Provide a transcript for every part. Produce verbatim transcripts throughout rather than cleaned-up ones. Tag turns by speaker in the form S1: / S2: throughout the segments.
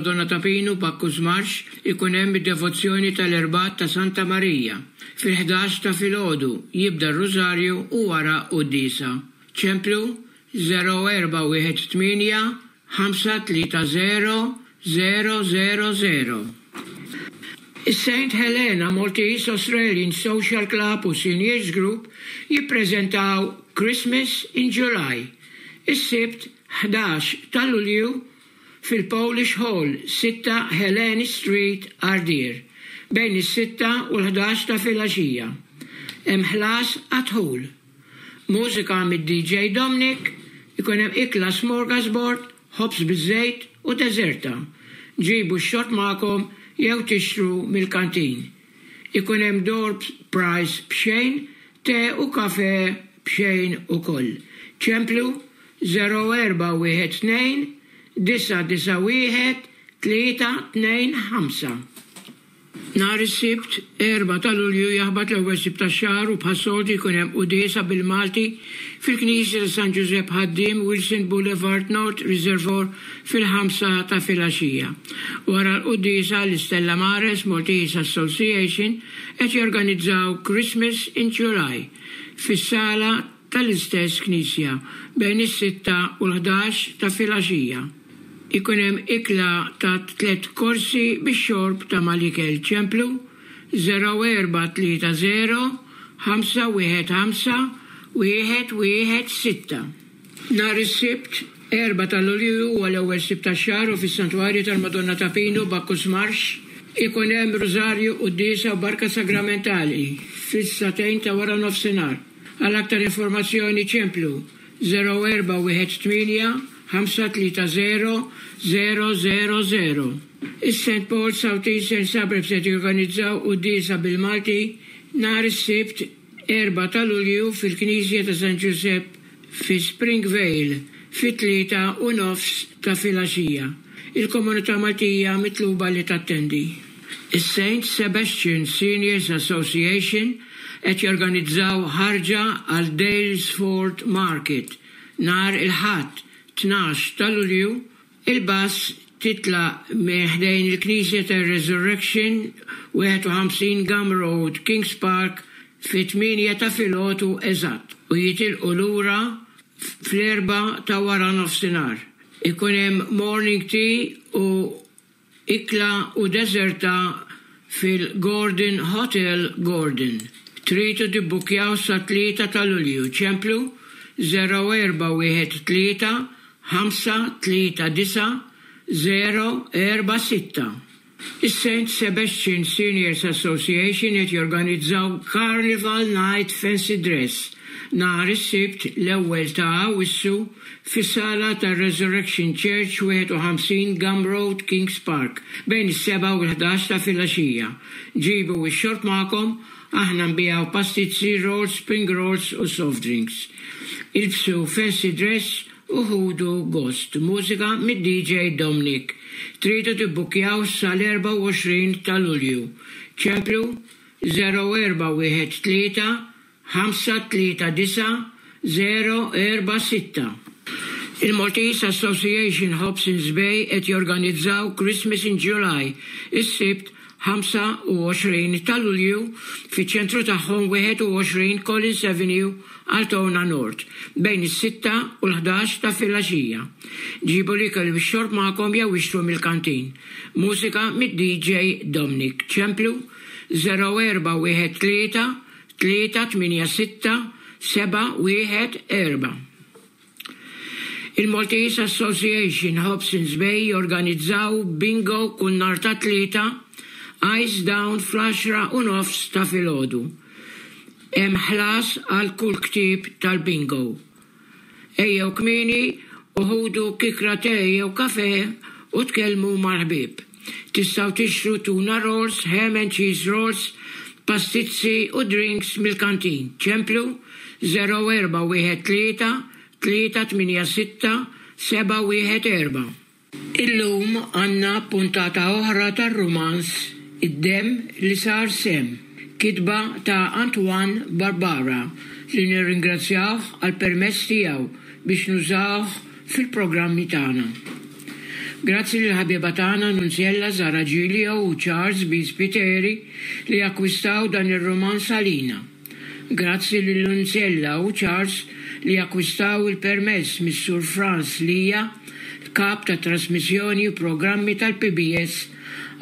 S1: Tal-Madonna ta' Pinu, Bacchus Marsh, ikun hemm id-devozzjoni tal-Erbgħat ta' Santa Marija. Fil-ħdax ta' filgħodu jibda r-Rużarju u wara quddiesa. Ċemplu żero erba' wieħed tmienja ħamsa tlieta żero żero żero żero. Is-Saint Helena Maltese Australian Social Club u Seniors Group jippreżentaw Christmas in July. Is-Sibt ħdax ta' Lulju fil-Polish Hall, sitta Helene Street, Ardeer, bejn is-sitta u l-ħdax ta' filgħaxija. Hemm ħlas għad-dħul. Mużika mid-D J Dominic, ikun hemm ikla smorgasbord, ħobż biż-żejt u deżerta. Ġibu x-xorb magħkom jew tixtru mill-kantin. Ikun hemm door prize b'xejn, te u kafe b'xejn ukoll. Ċemplu żero erba' wieħed tnejn disa' disa' wieħed tlieta tnejn ħamsa. Nhar is-Sibt, erbgħa ta' Lulju, jaħbat l-ewwel Sibt tax-xahar u bħas-soltu jkun hemm quddiesa bil-Malti fil-Knisja ta' San Ġużepp Ħaddiem, Wilson Boulevard, North Reservoir, fil-ħamsa ta' filgħaxija. Wara l-quddiesa, l-Istella Mares Maltese Association qed jorganizzaw Christmas in July fis-sala tal-istess knisja bejn is-sitta u l-ħdax ta' filgħaxija. Ikun hemm ikla ta' tliet korsi bix-xorb ta' mal-ikel. Ċemplu żero erba' tlieta żero ħamsa wieħed ħamsa wieħed wieħed sitta. Nhar is-Sibt, erbgħa ta' Lulju, huwa l-ewwel Sibt tax-xahar u fis-Santwarju tal-Madonna ta' Pinu, Bacchus Marsh, ikun hemm Rużarju, quddiesa u barka sagramentali fis-sagħtejn ta' wara nofsinhar. Għal aktar informazzjoni ċemplu żero erba' wieħed tmienja ħamsa tlieta żero żero żero żero. Is-Saint Paul South Eastern Suburbs qed jorganizzaw quddiesa bil-Malti nhar is-Sibt erbgħa ta' Lulju fil-Knisja ta' San Giuseppe fi Springvale fit-tlieta u nofs ta' filgħaxija. Il-komunità Maltija mitluba li tattendi. Is-Saint Sebastian Seniors Association qed jorganizzaw ħarġa għal Daylesford Market nhar il-Ħadd tnax ta' Lulju. Il-bus titlaq minn ħdejn il-Knisja ta' Resurrection, wieħed u ħamsin Gum Road, Kings Park, fit-tmienja ta' filgħodu eżatt u jitilqu lura fl-erbgħa ta' wara nofsinhar. Ikun hemm morning tea u ikla u deżerta fil-Gordon Hotel, Gordon. Tridu tibbukjaw sa tlieta ta' Lulju. Ċemplu żero erba' wieħed tlieta ħamsa tlieta disa' żero erba' sitta. Is-Saint Sebastian Seniors Association qed jorganizzaw Carnival Night Fancy Dress nhar is-Sibt l-ewwel ta' Awwissu fis-sala ta' Resurrection Church, wieħed u ħamsin Gum Road, Kings Park, bejn is-sebgħa u l-ħdax ta' filgħaxija. Ġibu x-xorb magħkom, aħna nbigħu pastizzi, rolls, spring rolls u soft drinks. Ilbsu fancy dress u ħudu gost. Mużika mid-D J Dominic. Tridu tibbukjaw sal-erbgħa u għoxrin ta' Lulju. Ċemplu żero erba' wieħed tlieta ħamsa tlieta disa' żero erba' sitta. Il-Maltese Association Hobsons Bay qed jorganizzaw Christmas in July is-Sibt ħamsa u għoxrin ta' Lulju fiċ-ċentru tagħhom, wieħed u għoxrin Collins Avenue, Altona North, bejn is-sitta u l-ħdax ta' filgħaxija. Ġibu l-ikel u x-xorb magħkom jew ixtru mill-kantin. Mużika mid-D J Dominic. Ċemplu żero erba' wieħed tlieta tlieta tmienja sitta seba' wieħed erba'. Il-Maltese Association Hobsons Bay jorganizzaw bingo kull nhar ta' Tlieta, Ice Down, fl-għaxra u nofs ta' filgħodu. Hemm ħlas għal kull ktieb tal-bingo. Ejjew kmieni u ħudu kikra te jew kafe u tkellmu mal-ħbieb. Tistgħu tixtru tuna rolls, ham and cheese rolls, pastizzi u drinks mill-kantin. Ċemplu żero erba' wieħed tlieta tlieta tmienja sitta seba' wieħed erba'. Illum għandna puntata oħra tar-rumanz Id-Demm li Sar Semm, kitba ta' Antoine Barbara, li nirringrazzjawh għal permess tiegħu biex nużawh fil-programmi tagħna. Grazzi lil ħabiba tagħna Nunzjella Zara Giglio u Charles B. Spiteri li akkwistaw dan ir-rumanz għalina. Grazzi lil Nunzjella u Charles li akkwistaw il-permess mis-Sur Franz Lija, kap ta' trasmissjoni u programmi tal-P B S,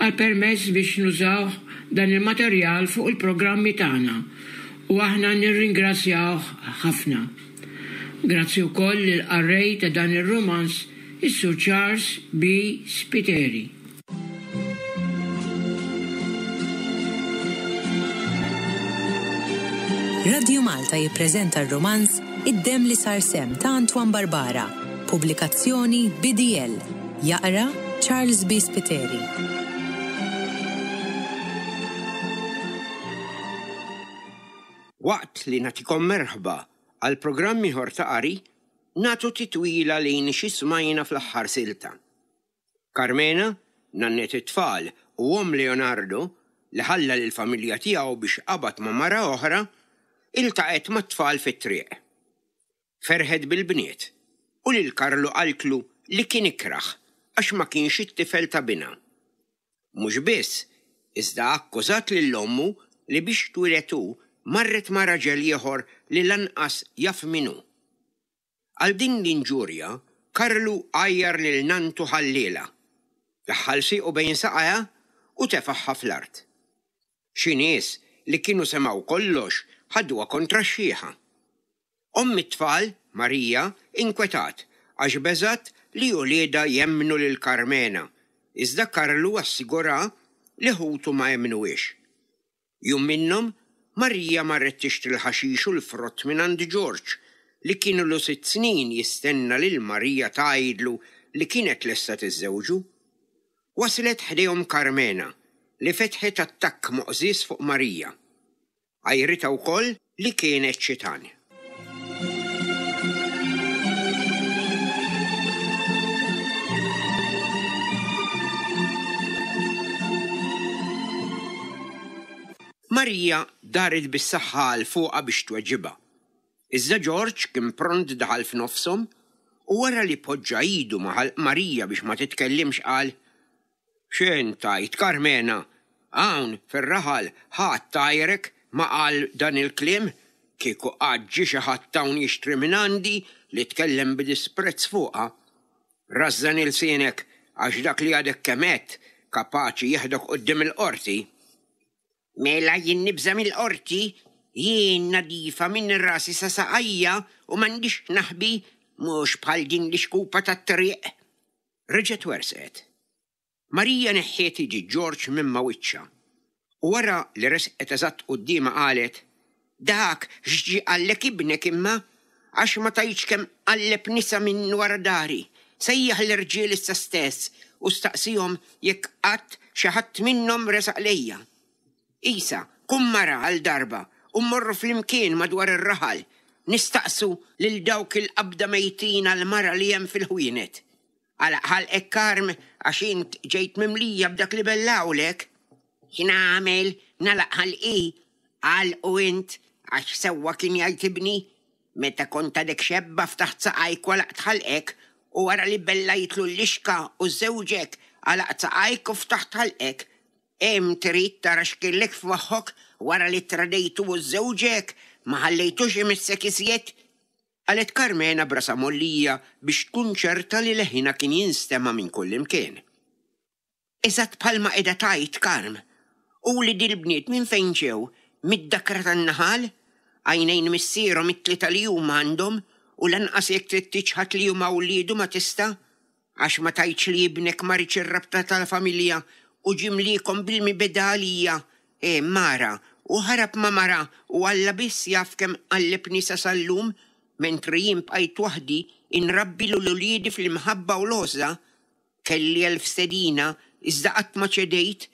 S1: għal permess biex nużaw dan il-materjal fuq il-programmi tagħna u aħna nirringrazzjawh ħafna. Grazzi wkoll lill-qarrej ta' dan ir-rumanz, is-Sur Charles B. Spiteri.
S2: Radio Malta jippreżenta r-romanz Id-Demm li Sar Semm ta' Antoine Barbara, pubblikazzjoni B D L. Jaqra Charles B. Spiteri.
S3: Waqt li nagħtikom merħba għal programm ieħor ta' qari, nagħtu titwila lejn xi smajna fl-aħħar silta. Carmena, nannet it-tfal u omm Leonardo, li ħalla lill-familja tiegħu biex qabad ma' mara oħra, iltaqgħet mat-tfal fit-triq. Ferħet bil-bniet u lil Karlu qaltlu li kien ikraħ għax ma kienx it-tifel ta' binha. Mhux biss, iżda akkużat lil ommu li biex twieled hu marret ma' raġel ieħor li lanqas jaf min hu. Għal din l-inġurja, Karlu għajjar lil nantu ħalliela, daħħal siequ bejn saqajha u tefaħħa fl-art. Xi nies li kienu semgħu kollox ħaduha kontra x-xieħa. Omm it-tfal, Marija, inkwetat għax beżat li uliedha jemmnu lil Carmena, iżda Karlu assigura li ħutu ma jemmnuhiex. Jum minnhom, Marija marret tixtri l-ħaxix u l-frott minn għand George, li kienu lu sitt snin jistenna lil Marija tgħidlu li kienet lesta tiżżewġu. Waslet ħdejhom Carmena li fetħet attakk moqżież fuq Marija. Għajritha wkoll li kienet xitan. Marija daret bis-saħħa għal fuqha biex tweġibha. Iżda George kien pront daħal f'nofshom u wara li poġġa idu ma' ħalq Marija biex ma titkellimx qal: X'int tgħid, Carmena? Hawn fir-raħal ħadd tajrek ma qal dan il-kliem, kieku qatt ġie xi ħadd hawn jixtri minn għandi li tkellem b'disprezz fuqha. Rażżan ilsienek għax dak li għadek kemm għedt kapaċi jeħdok quddiem il-qorti. Mela jien nibża' mill-qorti, jien nadifa minn rasi sa saqajja u m'għandix naħbi, mhux bħal din l-ixkupa tat-triq. Reġgħet werset. Marija neħħiet iġi George minn ma' wiċċha. U wara li resqet eżatt quddiemha qalet: Dak x'ġie qallek ibnek imma, għax ma tgħidx kemm qalleb nisa minn wara dari. Sejjaħ l-irġiel issa stess u staqsihom jekk qatt xi ħadd minnhom resaq lejja. Isa, kum mara għal darba u mmorru flimkien madwar ir-raħal, nistaqsu lil dawk il-qabda mejtin għal mara li hemm fil-ħwienet. Għalaq ħalqek Karm għax int ġejt mimlija b'dak li bellawlek. X'nagħmel nagħlaq ħalqi? Għalqu int għax sewwa kien jgħid ibni. Meta kont għadek xebba ftaħt saqajk u għalaqt ħalqek u wara li bellajtlu l-lixka u żewġek għalaqt saqajk u ftaħt ħalqek. Hemm trid tara x'kellek f'moħħok wara li tradejtu u żewġek ma ħallejtux imissek iżjed? Qalet Carmena brasa mollija biex tkun ċerta li leħina kien jinstema' minn kull imkien. Eżatt bħalma qiegħda tgħid Karm, u li dil-bniet minn fejn ġew, mid-dakra tan-naħal, għajnejn missierhom it-tlieta li huma għandhom u lanqas jekk trid tiċħad li huma wliedu ma tista', għax ma tgħidx li ibnek ma riedx ir-rabta tal-familja u ġimliekom bil-mibeda għalija. E mara, u ħarab ma' mara u Alla biss jaf kemm qalleb nisa sal-lum, mentri jien bqajt waħdi inrabbi lil uliedi fl-imħabba u l-għożża. Kelli elf stedina, iżda qatt ma ċedejt,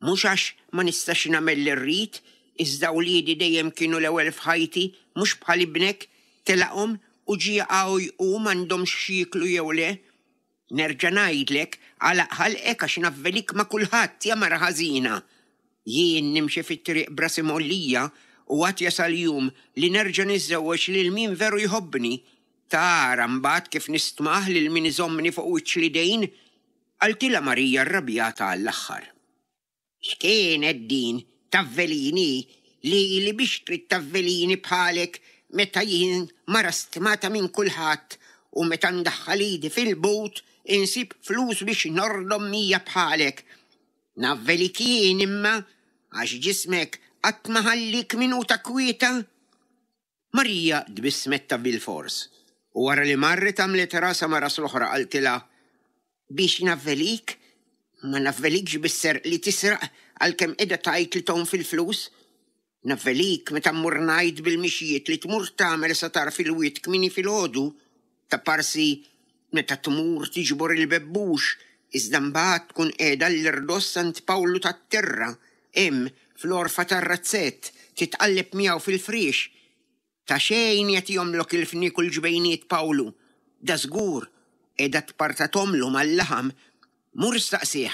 S3: mhux għax ma nistax nagħmel li rrid, iżda uliedi dejjem kienu l-ewwel f'ħajti, mhux bħal ibnek, telaqhom u ġie jaqgħu jqum m'għandhomx x'jieklu jew le. Nerġa' ngħidlek, għalaq ħalqek għax navvelik ma' kulħadd, ja mara ħażina. Jien nimxi fit-triq brasi mollija u għad jasal jum li nerġa' niżżewweġ lil min veru jħobbni. Tara mbagħad kif nistmah lil min iżommni fuq wiċċ l-idejn. Qaltilha Marija rrabjata għall-aħħar. X'kienet din tavvelini lili biex trid tavvelini bħalek meta jien mara stmata minn kulħadd u meta ndaħħal idi fil-but insib flus biex nordom mija bħalek. Navvelik jien imma għax ġismek qatt ma ħallik minuta kwieta. Marija tbissmet ta' bilfors u wara li marret għamlet rasha ma' ras l-oħra qaltilha, Biex navvelik? Ma navvelikx bis-serq li tisraq għalkemm qiegħda tgħid li tgħum fil-flus. Navvelik meta mmur ngħid bil-mixjiet li tmur tagħmel sa tarf il-wied kmieni filgħodu, taparsi meta tmur tiġbor il-bebbux iżda mbagħad tkun qiegħda l-irdoss għand Pawlu tat-Tirra, hemm fl-għorfa tar-razzett, titqalleb miegħu fil-friex. Ta' xejn jagħtihomlok il-fniek u l-ġbejniet Pawlu. Dażgur, qiegħda tpartathomlu mal-laħam. Mur staqsih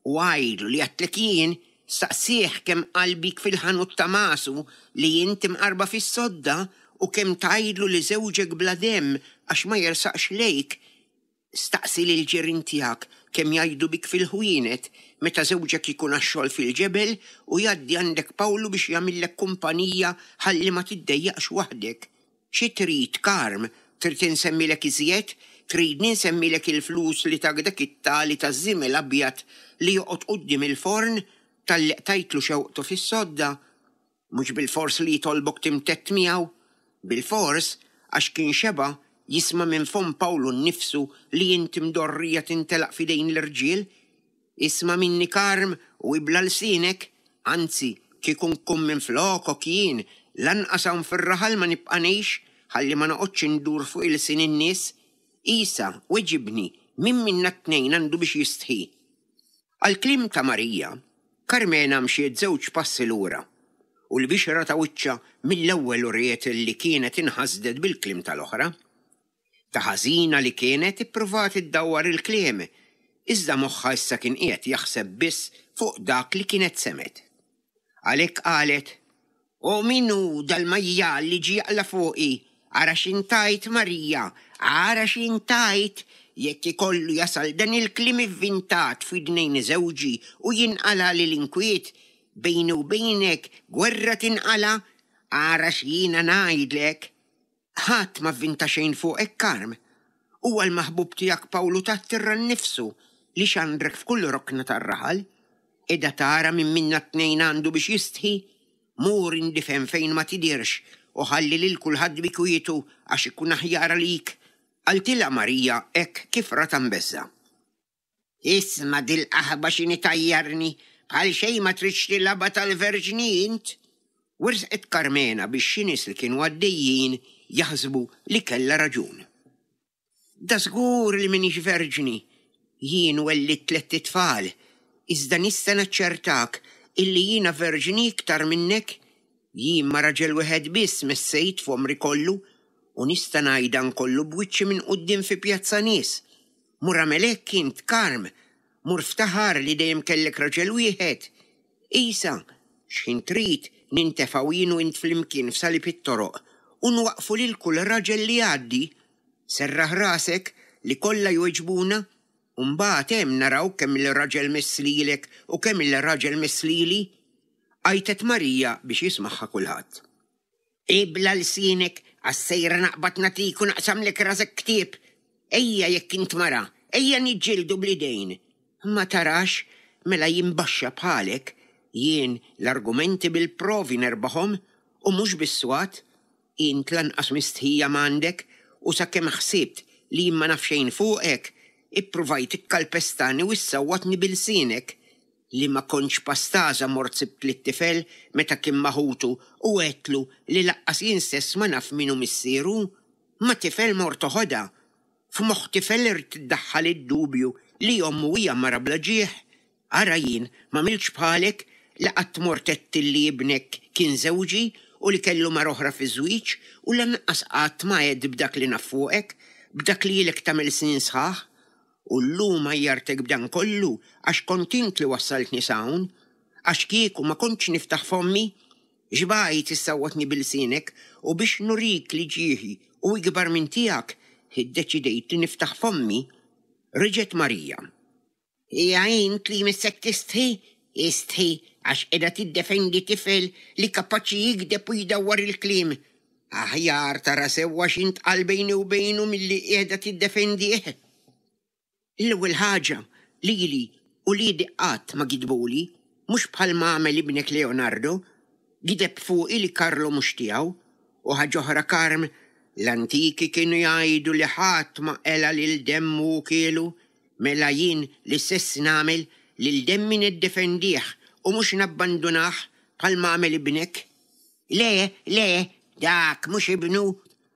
S3: u għidlu li għedtlek jien, staqsih kemm qal bik fil-ħanut ta' Masu li int imqarba fis-sodda u kemm tgħidlu li żewġek bla demm għax ma jersaqx lejk. Staqsi lill-ġirien tiegħek kemm jgħidu bik fil-ħwienet meta żewġek ikun għax-xogħol fil-ġebel u jgħaddi għandek Pawlu biex jagħmillek kumpanija ħalli ma tiddejjaqx waħdek. Xi trid, Karm? Trid insemmilek iżjed? Tridni nsemmilek il-flus li tak dak it-tali taż-żiemel abjad li joqgħod quddiem il-forn talli qtajtlu xewqtu fis-sodda? Mhux bilfors li jitolbok timtedd miegħu. Bilfors, għax kien xeba' jisma' minn fomm Pawlu nnifsu li int imdorrija tintelaq f'idejn l-irġiel. Isma' minni Karm u ibla' lsienek, anzi, kieku nkun minflokok jien, lanqas hawn fir-raħal ma nibqa' ngħix ħalli ma noqgħodx indur fuq ilsien in-nies. Isa, weġibni, min minna t-tnejn għandu biex jistħi? Għall-kliem ta' Marija, Karmena mxiet żewġ passi lura u l-bixra ta' wiċċha mill-ewwel uriet li kienet inħasdet bil-kliem tal-oħra. Ta' ħażina li kienet ippruvat iddawwar il-kliem, iżda moħħha issa kien qiegħed jaħseb biss fuq dak li kienet semgħet. Għalhekk qalet, O min hu dal-majjal li ġie jaqla' fuqi? Ara x'intajt, Marija, ara x'intajt! Jekk ikollu jasal dan il-kliem ivvintat f'widnejn żewġi u jinqalagħli l-inkwiet, bejni u bejnek gwerra tinqala', ara x'jiena ngħidlek! Ħadd ma vvinta xejn fuqek, Karm. Huwa l-maħbub tiegħek Pawlu tat-Tirra nnifsu li xandrek f'kull rokna tar-raħal. Qiegħda tara min minna t-tnejn għandu biex jistħi? Mur indifen fejn ma tidhirx u ħalli lil kulħadd bi kwietu għax ikun aħjar għalik, qaltilha Marija hekk kif ratha mbeżżgħa. Isma' dil-qaħba x'inhi tgħajjarni, bħal xejn ma tridx tilgħabha tal-verġni int! Wersqet Karmena biex xi nies li kienu għaddejjin jaħsbu li kellha raġun. Dażgur li m'iniex verġni. Jien wellidt tlett itfal, iżda nista' naċċertak illi jiena verġni iktar minnek. Jien ma' raġel wieħed biss messejt f'għomri kollu u nista' ngħid dan kollu b'wiċċi minn quddiem fi pjazza nies. Mur agħmel hekk int, Karm! Mur ftaħar li dejjem kellek raġel wieħed! Isa, x'ħin trid, nintefgħu jien u int flimkien f'salib it-toroq u nwaqqfu lil kull raġel li jgħaddi. Serraħ rasek li kollha jweġbuna u mbagħad hemm naraw kemm-il raġel mess lilek u kemm-il raġel mess lili! Għajtet Marija biex jismagħha kulħadd. Ibla' lsienek għax sejra naqbad nagħtik u naqsamlek rasek ktieb! Ejja jekk int mara, ejja niġġieldu bl-idejn! Ma tarax, mela jien baxxa bħalek, jien l-argumenti bil-provi nerbaħhom u mhux bis-swat. Int lanqas mistħija m'għandek u sakemm ħsibt li jien ma naf xejn fuqek, ippruvajt tikkalpestani u issawwatni bi lsienek. Li ma kontx pastaża mort sibt lit-tifel meta kien ma' ħutu u għedtlu li laqqas jien stess ma naf min hu missieru. Ma' tifel mort toħodha. F'moħħ tifel ridt iddaħħal id-dubju li ommu hija mara bla ġieħ. Ara jien m'għamiltx bħalek li qatt mort għedt li ibnek kien żewġi u li kellu mara oħra fiż-żwieġ u lanqas qatt ma għedt b'dak li naf fuqek, b'dak li ilek tagħmel snin sħaħ. U llum għajjartek b'dan kollu għax kont int li wassaltni s'hawn. Għax kieku ma kontx niftaħ fommi. Xbajt issawwatni bi lsienek u biex nurik li ġieħi hu ikbar minn tiegħek, iddeċidejt li niftaħ fommi. Reġgħet Marija. Hija int li jmissek tistħi? Istħi għax qiegħda tiddefendi tifel li kapaċi jigdeb u jdawwar il-kliem. Aħjar tara sewwa x'intqal bejni u bejnu milli qiegħda tiddefendih. L-ewwel ħaġa, lili uliedi qatt ma gidbuli, mhux bħalma għamel ibnek Leonardo, gideb fuqi li Carlo mhux tiegħu. U ħaġa oħra Karm, l-antiki kienu jgħidu li ħadd ma qela' lil demmu u kielu, mela jien l-istess nagħmel, lil demmi niddefendih u mhux nabbandunah bħalma għamel ibnek. Le, le, dak mhux ibnu.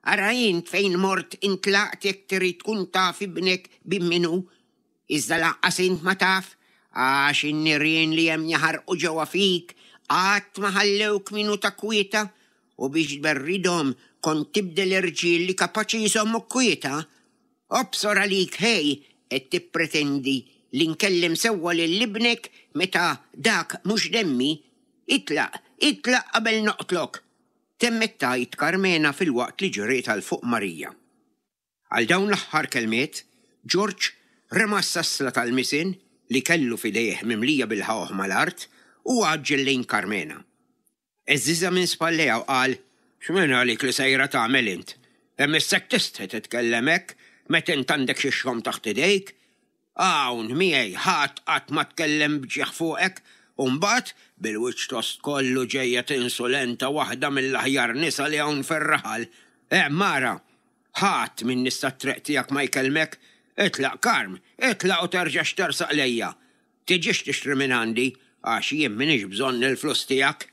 S3: Ara int fejn mort intlaqt jekk trid tkun taf ibnek bin min hu. Iżda lanqas int ma taf, għax in-nirien li hemm jaħarqu ġewwa fik qatt ma ħallewk minuta kwieta u biex tberridhom kont tibdel irġiel li kapaċi jżommuk kwieta. Obsor għalik ħej qed tippretendi li nkellem sewwa lil ibnek meta dak mhux demmi. Itlaq, itlaq qabel noqtlok! Temmet tgħid Karmena filwaqt li ġriet għal fuq Marija. Għal dawn l-aħħar kelmiet, Ġorġ rema s-sasla tal-misin li kellu f'idejh mimlija bil-ħawħ mal-art u għaġġel lejn Karmena. Għeżżiżha minn spallejha u qal, X'minn għalik li sejra tagħmel int? Imissek tistħi titkellem hekk meta int għandek xi xogħom taħt idejk? Hawn miegħi ħadd qatt ma tkellem b'ġieħ fuqek u mbagħad bil-wiċċ tost kollu ġejja tinsulenta waħda mill-aħjar nisa li hawn fir-raħal. Hemm ara, ħadd minn nies tat-triq tiegħek ma jkellmek. Itlaq Karm, itlaq u terġax tersaq lejja. Tiġix tixtri minn għandi għax jien m'iniex bżonn il-flus tiegħek.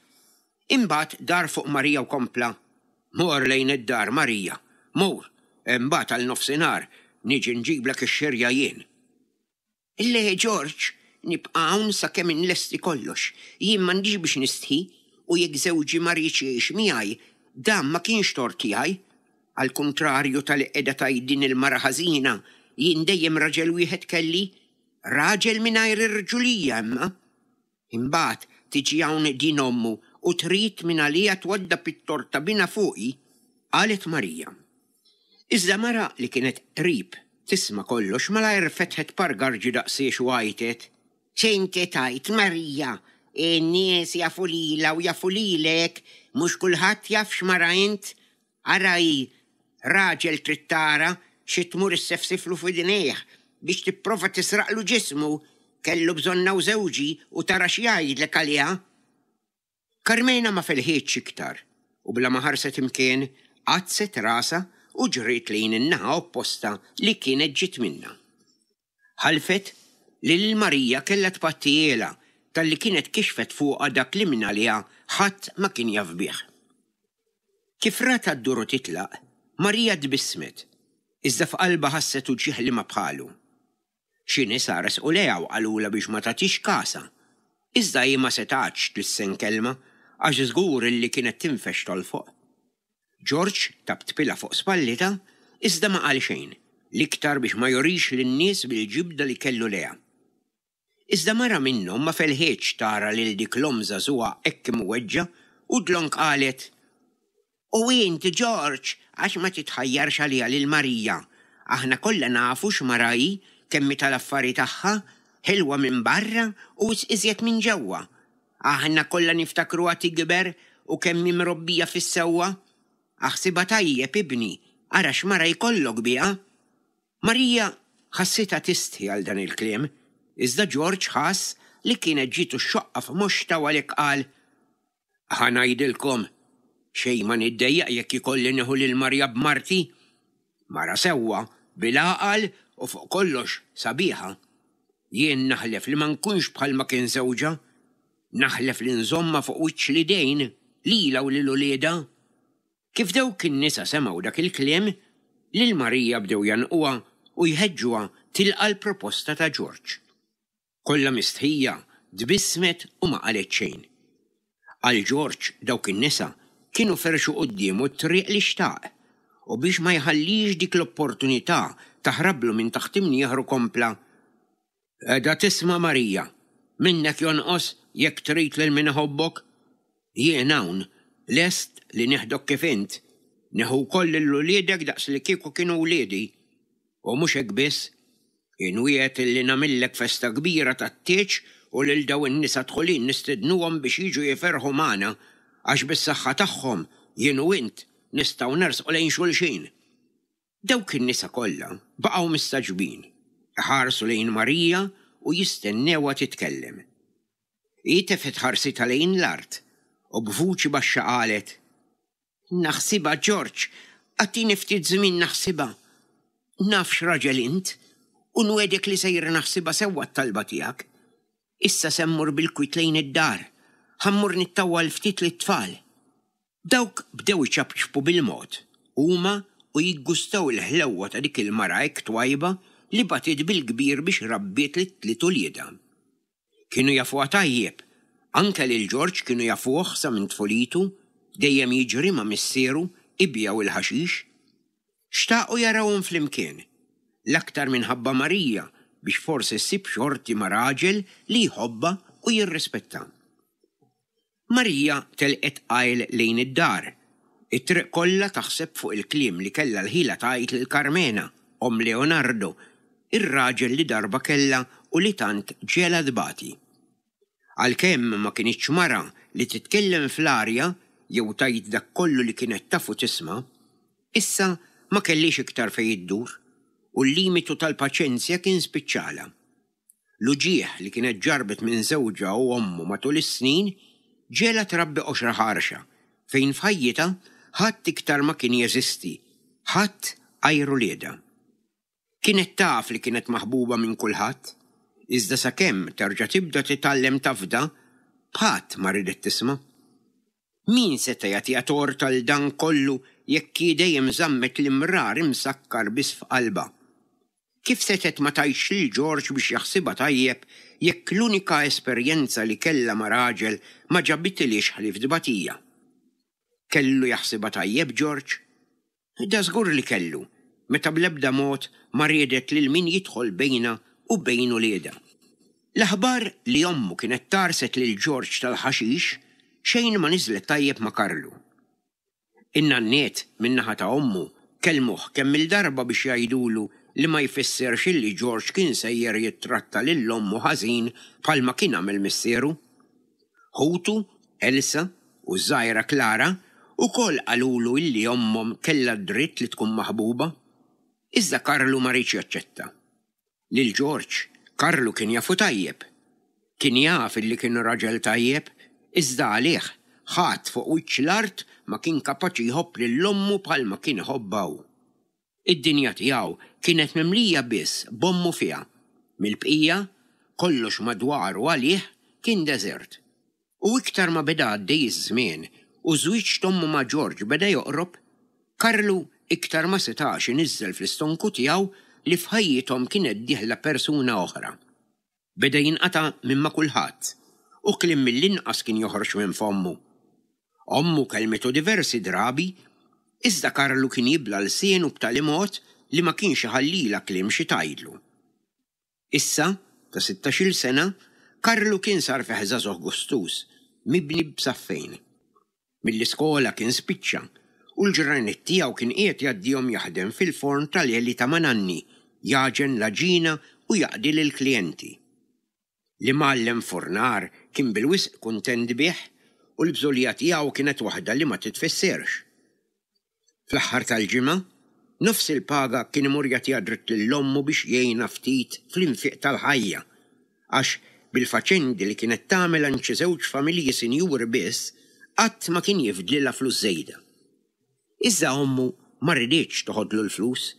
S3: Imbagħad dar fuq Marija u kompla, Mur lejn id-dar Marija, mur, imbagħad għal nofsinhar niġi nġiblek ix-xirja jien. Le Ġorġ, nibqa' hawn sakemm inlesti kollox. Jien m'għandix biex nistħi u jekk żewġi ma riedx jgħix miegħi, dan ma kienx tort tiegħi. Għall-kuntrarju ta' li qiegħda tgħid din il-mara ħażina, jien dejjem raġel wieħed kelli, raġel mingħajr irġulija imma. Imbagħad tiġi hawn din ommu u trid minn għalija twaddab it-tort ta' binha fuqi, qalet Marija. Iżda mara li kienet qrib tisma' kollox malajr fetħet par garġi daqsiex u għajtet, X'inti tgħid Marija? In-nies jafu lilha u jafu lilek, mhux kulħadd jaf x'mara int. Ara hi, raġel trid tara xi tmur issefsiflu f'idnejh biex tipprova tisraqlu ġismu, kellu bżonnha u żewġi u tara x'jgħidlek għaliha. Karmena ma felħitx iktar u bla ma ħarset imkien għaddset rasha u ġriet lejn in-naħa opposta li kienet ġiet minnha. Ħalfet li lil Marija kellha tpattihielha talli kienet kixfet fuqha dak li minn għaliha ħadd ma kien jaf bih. Kif ratha ddur u titlaq, Marija tbissmet, iżda f'qalbha ħasset uġigħ li ma bħalu. Xi nisa resqu lejha u qalulha biex ma tagħtix kasha, iżda hi ma setgħetx tlissen kelma għax żgur illi kienet tinfex tolfoq. Ġorġ taptpilha fuq spallitha iżda ma qal xejn, l-iktar biex ma jurix lin-nies bil-ġibda li kellu lejha. Iżda mara minnhom ma felħitx tara lil dik l-omm żagħżugħa hekk imweġġa' u dlonk qalet, U int, Ġorġ, għax ma titħajjarx għaliha lil Marija? Aħna kollha nafu x'mara hi, kemm hi tal-affari tagħha, ħelwa minn barra u wisq iżjed minn ġewwa. Aħna kollha niftakruha tikber u kemm hi mrobbija fis-sewwa. Aħsibha tajjeb, ibni, ara x'mara jkollok biha. Marija ħassitha tistħi għal dan il-kliem, iżda Ġorġ ħass li kienet ġietu x-xoqqa f'moxtha u għalhekk qal, Ħa ngħidilkom, xejn ma niddejjaq jekk ikolli nieħu lil Marija b'marti. Mara sewwa, bil-għaqal u fuq kollox sabiħa. Jien naħlef li ma nkunx bħalma kien żewġha. Naħlef li nżommha fuq wiċċ l-idejn, lilha u lil uliedha. Kif dawk in-nisa semgħu dak il-kliem, lil Marija bdew jgħannquha u jħeġġuha tilqa' l-proposta ta' Ġorġ. Kollha mistħija, tbissmet u ma qalet xejn. Għal Ġorġ dawk in-nisa kienu ferxu quddiemu t-triq li xtaq, u biex ma jħallix dik l-opportunità taħrablu minn taħt imnieħru kompla, Qiegħda tisma' Marija, minnek jonqos jekk trid lil min iħobbok? Jien hawn, lest li nieħdok kif int, nieħu wkoll lil uliedek daqs li kieku kienu wliedi. U mhux hekk biss, Inwiegħed illi nagħmillek festa kbira tat-tieġ u lil dawn in-nisa dħulin nistednuhom biex jiġu jiferħu magħna għax bis-saħħa tagħhom jien u int nistgħu nersqu lejn xulxin. Dawk in-nisa kollha baqgħu mistagħġbin, iħarsu lejn Marija u jistennewha titkellem. Hi tefgħet ħarsitha lejn l-art u b'vuċi baxxa qalet: Naħsibha Ġorġ, agħtini ftit żmien naħsibha. Naf x'raġel int u nwiegħdek li sejra naħsibha sewwa t-talba tiegħek. Issa se mmur bil-kwiet lejn id-dar, ħa mmur nittawwal ftit lit-tfal. Dawk bdew iċapċpu bil-mod, huma u jiggustaw il-ħlewwa ta' dik il-mara hekk twajba li batiet bil-kbir biex rabbiet lit-tliet uliedha. Kienu jafuha tajjeb, anke lil Ġorġ kienu jafuh sa minn tfulitu, dejjem jiġri ma' missieru ibigħu il-ħaxix. Xtaqu jarawhom flimkien, l-aktar minħabba Marija biex forsi ssib xorti ma' raġel li jħobbha u jirrispetta. Marija telqet qajl lejn id-dar. It-triq kollha taħseb fuq il-kliem li kellha l-ħila tgħid lil Karmena, omm Leonardo, ir-raġel li darba kellha u li tant ġegħelha tbati. Għalkemm ma kinitx mara li titkellem fl-arja jew tgħid dak kollu li kienet taf u tisma', issa ma kellhiex iktar fejn iddur u l-limitu tal-paċenzja kien spiċċalha. L-uġigħ li kienet ġarbet minn żewġha u ommu matul is-snin ġegħelha trabbi qoxra ħarxa fejn f'ħajjitha ħadd iktar ma kien jeżisti, ħadd għajr uliedha. Kienet taf li kienet maħbuba minn kulħadd, iżda sakemm terġa' tibda titgħallem tafda, b'ħadd ma ridet tisma'. Min seta' jagħtiha tort għal dan kollu jekk hi dejjem żammet l-imrar imsakkar biss f'qalbha? Kif setgħet ma tgħidx lil Ġorġ biex jaħsibha tajjeb jekk l-unika esperjenza li kellha ma' raġel ma ġabitilhiex ħlief tbatija? Kellu jaħsibha tajjeb Ġorġ? Da żgur li kellu, meta bl-ebda mod ma riedet lil min jidħol bejnha u bejn uliedha. L-aħbar li ommu kienet tarset lil Ġorġ tal-ħaxix xejn ma niżlet tajjeb ma' Karlu. In-nanniet min-naħa ta' ommu kellmuh kemm il-darba biex jgħidulu li ma jfissirx illi Ġorġ kien sejjer jittratta lil ommu ħażin bħalma kien għamel missieru. Ħutu, Elsa u ż-żgħira Klara ukoll qalulu illi ommhom kellha d-dritt li tkun maħbuba. Iżda Karlu ma riedx jaċċetta. Lil Ġorġ, Karlu kien jafu tajjeb. Kien jaf illi kien raġel tajjeb, iżda għalih ħadd fuq wiċċ l-art ma kien kapaċi jħobb lil ommu bħalma kien iħobbha hu. Id-dinja tiegħu kienet mimlija biss b'ommu fiha. Mill-bqija, kollox madwaru għalih kien deżert. U iktar ma beda għaddej iż-żmien u żwieġ t'ommu ma' Ġorġ beda joqrob, Karlu iktar ma setax iniżżel fl-istonku tiegħu li f'ħajjithom kienet dieħla persuna oħra. Beda jinqata' minn ma' kulħadd u kliem mill-inqas kien joħroġ minn fommu. Ommu kellmitu diversi drabi, iżda Karlu kien jibla' lsienu b'tali mod li ma kienx iħallilha kliem xi tgħidlu. Issa, ta' sittax-il sena, Karlu kien sar fih żagħżugħ gustuż, mibni b'saffejn. Mill-iskola kien spiċċa u l-ġranet tiegħu kien qiegħed jgħaddihom jaħdem fil-forn tal-għeli ta' Mananni, jagħġen l-għaġina u jaqdi lill-klijenti. L-imgħallem furnar kien bil-wisq kuntent bih u l-bżulija tiegħu kienet waħda li ma titfissirx. Fl-aħħar tal-ġimgħa, nofs il-paga kien imur jagħtiha dritt lil ommu biex jgħinha ftit fl-infiq tal-ħajja, għax bil-faċendi li kienet tagħmel għand xi żewġ familji sinjuri biss, qatt ma kien jifdlilha flus żejda. Iżda ommu ma riditx toħodlu l-flus,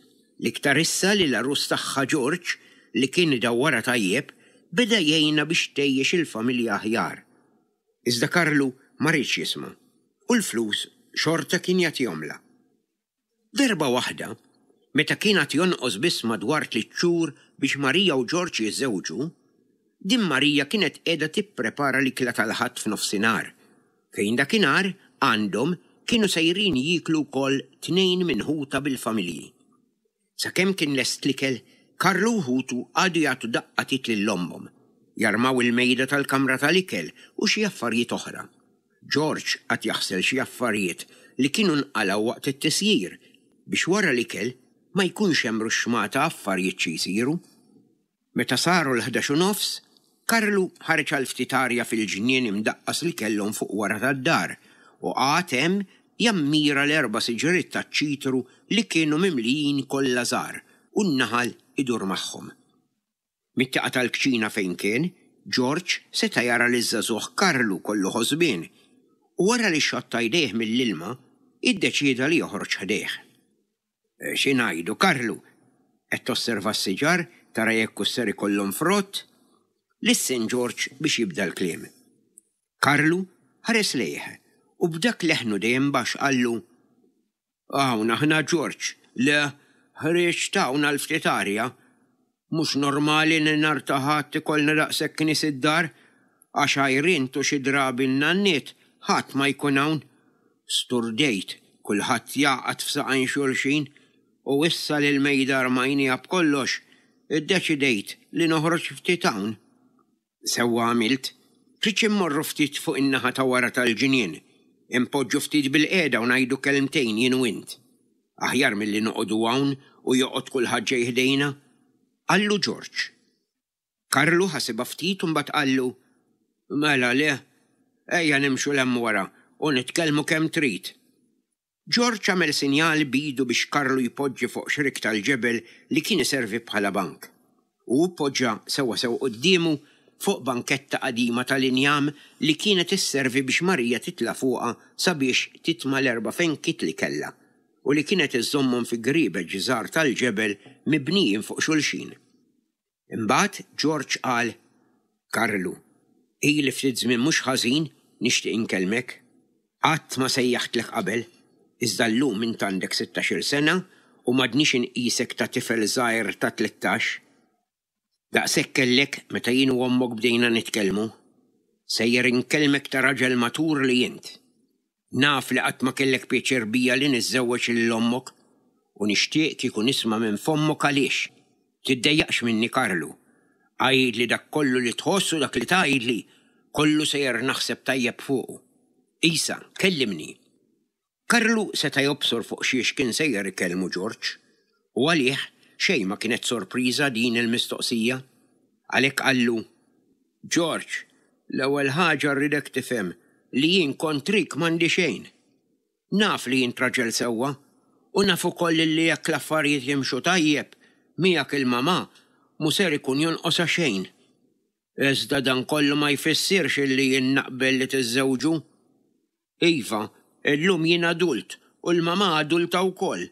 S3: l-iktar issa li l-għarus tagħha Ġorġ, li kien idawwarha tajjeb, beda jgħinha biex tgħejjex il-familja aħjar. Iżda Karlu ma riedx jisma' u l-flus xorta kien jagħtihomlha. Darba waħda, meta kien għad jonqos biss madwar tliet xhur biex Marija u Ġorġ jiżżewġu, din Marija kienet qiegħda tipprepara l-ikla tal-Ħadd f'nofsinhar, fejn dakinhar għandhom kienu sejrin jieklu wkoll tnejn minn ħutha bil-familji. Sakemm kien lest l-ikel, Karlu u ħutu qagħdu jagħtu daqqa t'id lil ommhom, jarmaw il-mejda tal-kamra tal-ikel u xi affarijiet oħra. Ġorġ qagħad jaħsel xi affarijiet li kienu nqalgħu waqt it-tisjir biex wara l-ikel ma jkunx hemm ruxxmata affarijiet xi jsiru. Meta saru l-ħdax u nofs, Karlu ħareġ għal ftit arja fil-ġnien imdaqqas li kellhom fuq wara tad-dar u qagħad hemm jammira l-erba' siġriet taċ-ċitru li kienu mimlijin kollha żgħar u n-naħal idur magħhom. Mit-tieqa tal-kċina fejn kien, Ġorġ seta' jara liż-żagħżugħ Karlu kollu ħosbien u wara li xotta jdejh mill-ilma, iddeċieda li joħroġ ħdejh. Xi ngħidu, Karlu? Qed tosserva s-siġar tara jekk hux ser ikollhom frott? Lissen Ġorġ biex jibda l-kliem. Karlu ħares lejh u b'dak leħnu dejjem baxx qallu, Hawn aħna Ġorġ, le, ħriġt hawn għal ftit arja. Mhux normali li nhar ta' Ħadd ikollna daqshekk nies id-dar, għax għajr int u xi drabi n-nanniet ħadd ma jkun hawn. Sturdejt, kulħadd jagħqad f'saqajn xulxin u issa li l-mejda rmajniha b'kollox, iddeċidejt li noħroġ ftit hawn. Sewwa għamilt, tridx immorru ftit fuq in-naħa ta' wara tal-ġnien, inpoġġu ftit bilqiegħda u ngħidu kelmtejn jien u int. Aħjar milli noqogħdu hawn u joqgħod kulħadd ġej ħdejna, qallu Ġorġ. Karlu ħasibha ftit u mbagħad qallu, Mela le, ejja nimxu 'l hemm wara u nitkellmu kemm trid. Ġorġ għamel sinjal b'idu biex Karlu jpoġġi fuq xrik tal-ġebel li kien iservi bħala bank. U hu poġġa sewwasew quddiemu fuq banketta qadima tal-injam li kienet isservi biex Marija titla' fuqha sabiex titma' l-erba' fenkiet li kellha u li kienet iżżommhom fi griebeġ żgħar tal-ġebel mibnijin fuq xulxin. Imbagħad Ġorġ qal, Karlu, ili ftit żmien mhux ħażin nixtieq inkellmek. Qatt ma sejjaħtlek qabel, iżda llum int għandek sittax-il sena u m'għadnix inqisek ta' tifel żgħir ta' tlettax. Daqshekk kellek meta jien u ommok bdejna nitkellmu. Sejjer inkellmek ta' raġel matur li int. Naf li qatt ma kellek pjaċir bija li niżżewweġ lil ommok u nixtieq kieku nisma' minn fommok għaliex. Tiddejjaqx minni Karlu. Għidli dak kollu li tħoss u dak li tgħidli kollu sejjer naħseb tajjeb fuqu. Isa, kellimni. Karlu seta' jobsor fuq xiex kien sejjer ikellmu Ġorġ u għalih xejn ma kienet sorpriża din il-mistoqsija. Għalhekk qallu, Ġorġ, l-ewwel ħaġa rridek tifhem li jien kontrik m'għandi xejn. Naf li int raġel sewwa u naf ukoll li jekk l-affarijiet jimxu tajjeb miegħek il-mamà mhu ser ikun jonqosha xejn. Iżda dan kollu ma jfissirx illi jien naqbel li tiżżewġu. Iva, illum jien adult u l-mamà adulta wkoll.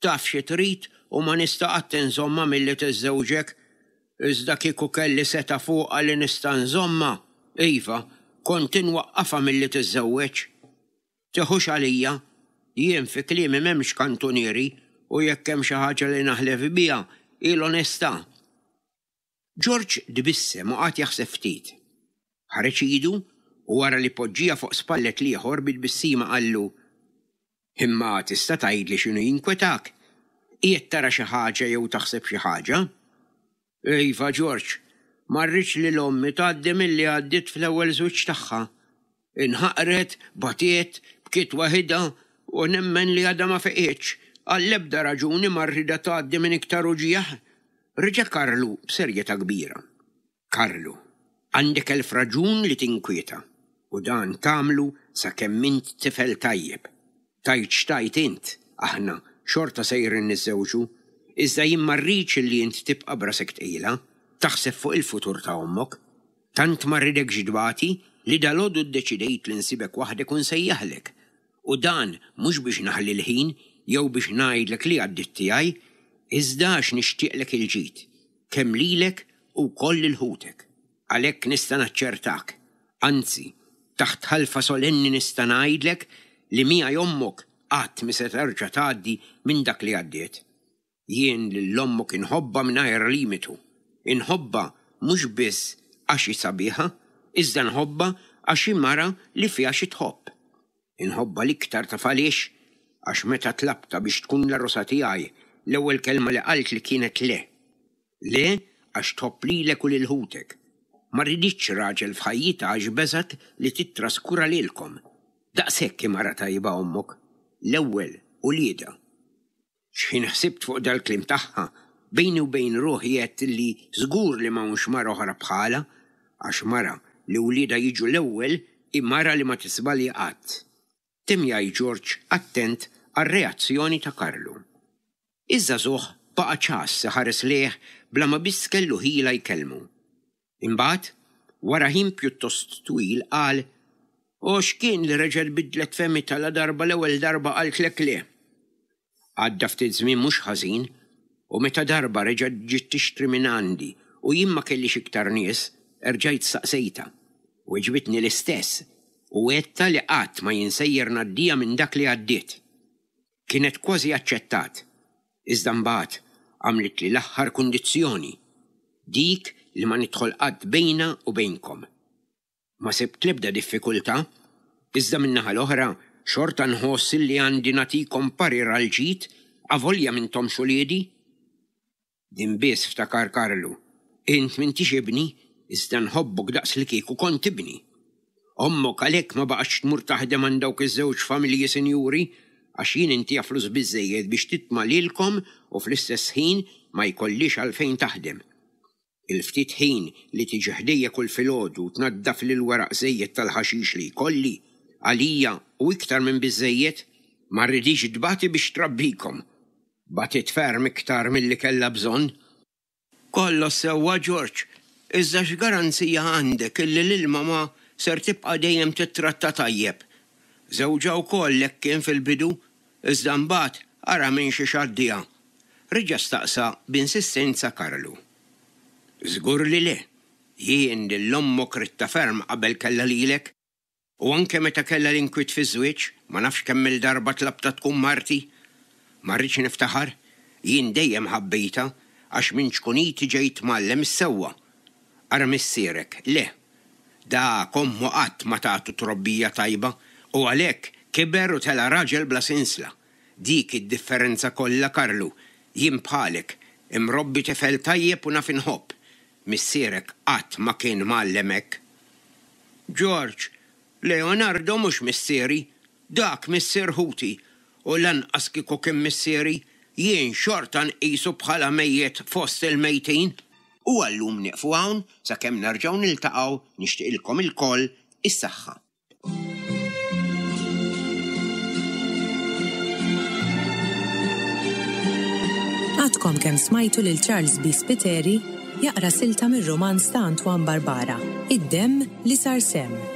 S3: Taf xi trid u ma nista' qatt inżommha milli tiżżewġek. Iżda kieku kelli setgħa fuqha li nista' nżommha, iva, kont inwaqqafha milli tiżżewweġ. Tiħux għalija, jien fi kliemi m'hemmx kantunieri u jekk hemm xi ħaġa li naħlef biha hi l-onestà. Ġorġ tbissem u qagħad jaħseb ftit. Ħareġ idu u wara li poġġieha fuq spallet l-ieħor bi tbissima qallu, Imma tista' tgħidli x'inhu jinkwetak? Qiegħed tara xi ħaġa jew taħseb xi ħaġa? Iva, Ġorġ, ma rridx lil ommi tgħaddi milli għaddiet fl-ewwel żwieġ tagħha. Inħaqret, batiet, bkiet waħidha u nemmen li għadha ma feqietx. Għall-ebda raġuni ma rridha tgħaddi minn iktar uġigħ. Reġa' Karlu b'serjetà kbira. Karlu, għandek elf raġun li tinkwieta u dan tagħmlu sakemm int tifel tajjeb. Tgħid x'tgħid int, aħna xorta sejrin niżżewġu, iżda jien ma rridx li int tibqa' b'rasek tqila, taħseb fuq il-futur ta' ommok. Tant ma rridekx tbati li dalgħodu ddeċidejt li nsibek waħdek u nsejjaħlek. U dan mhux biex naħli l-ħin jew biex ngħidlek li għaddiet tiegħi, iżda għax nixtieqlek il-ġid, kemm lilek u wkoll lil ħutek. Għalhekk nista' naċċertak, anzi, taħt ħalfa solenni nista' ngħidlek li miegħi ommok qatt mhi se terġa' tgħaddi minn dak li għaddiet. Jien lil ommok inħobbha mingħajr limitu. Inħobbha mhux biss għax hi sabiħa, iżda nħobbha għax hi mara li fiha xi tħobb. Inħobbha l-iktar taf għaliex? Għax meta tlabtha biex tkun l-għarusa tiegħi, l-ewwel kelma li qaltli kienet le. Le għax tħobb lilek u lil ħutek. Ma riditx raġel f'ħajjitha għax beżgħet li tittraskura lilkom. Daqshekk hi mara tajba ommok, l-ewwel uliedha. X'ħin ħsibt fuq dal-kliem tagħha, Bejni u bejn ruħi għedt li żgur li m'hawnx mara oħra bħalha, għax mara li wliedha jiġu l-ewwel hi mara li ma tiżbalja qatt. Temm jgħid Ġorġ attent għar-reazzjoni ta' Karlu. Iż-żagħżugħ baqa' ċass iħares lejh bla ma biss kellu ħila jkellmu. Imbagħad, wara ħin pjuttost twil qal, O x'kien li reġgħet bidlet fehmitha ladarba l-ewwel darba qaltlek le? Għadda ftit żmien mhux ħażin u meta darba reġgħet ġiet tixtri minn għandi u jien ma kellix iktar nies, erġajt staqsejtha. Weġbitni l-istess u għedtha li qatt ma jien sejjer ngħaddiha minn dak li għaddiet. Kienet kważi aċċettat, iżda mbagħad għamlitli l-aħħar kundizzjoni, dik li ma nidħol qatt bejnha u bejnkom. Ma sibt l-ebda diffikultà, iżda min-naħa l-oħra xorta nħoss li għandi nagħtikom parir għall-ġid avolja m'intomx uliedi. Din biss ftakar Karlu, int m'intix ibni, iżda nħobbok daqs li kieku kont ibni. Ommok għalhekk ma baqgħetx tmur taħdem għand dawk iż-żewġ familji sinjuri, għax jien intiha flus biżżejjed biex titma' lilkom u fl-istess ħin ma jkollhiex għalfejn taħdem. Il-ftit ħin li tiġi ħdejja kull filgħodu u tnaddafli l-weraq żejjed tal-ħaxix li jkolli, għalija hu iktar minn biżżejjed. Ma rridhiex tbati biex trabbikom. Batiet ferm iktar milli kellha bżonn. Kollox sewwa Ġorġ, iżda x'garanzija għandek illi lil mamà ser tibqa' dejjem tittratta tajjeb? Żewġha wkoll hekk kien fil-bidu, iżda mbagħad ara minn xiex għaddieha. Reġa' staqsa b'insistenza Karlu. Żgur li le. Jien lil ommok ridtha ferm qabel kellha lilek. U anke meta kellha l-inkwiet fiż-żwieġ, ma nafx kemm-il darba tlabtha tkun marti. Ma rridx niftaħar, jien dejjem ħabbejtha għax minn ċkuniti ġejt mgħallem is-sewwa. Ara missierek, le. Dak ommu qatt ma tatu trobbija tajba u għalhekk kiber u tela' raġel bla sinsla. Dik hi d-differenza kollha Karlu. Jien bħalek, imrobbi tifel tajjeb u naf inħobb. Missierek qatt ma kien mgħallem hekk. Ġorġ, Leonardo mhux missieri, dak missier ħuti, u lanqas kieku kien missieri, jien xorta nqisu bħala mejjet fost il-mejtin. U għal-lum nieqfu hawn sakemm nerġgħu niltaqgħu nixtieqilkom ilkoll is-saħħa.
S2: Għadkom kemm smajtu lil Charles B. Spiteri jaqra silta mir-rumanz ta' Antoine Barbara, Id-demm li sar semm.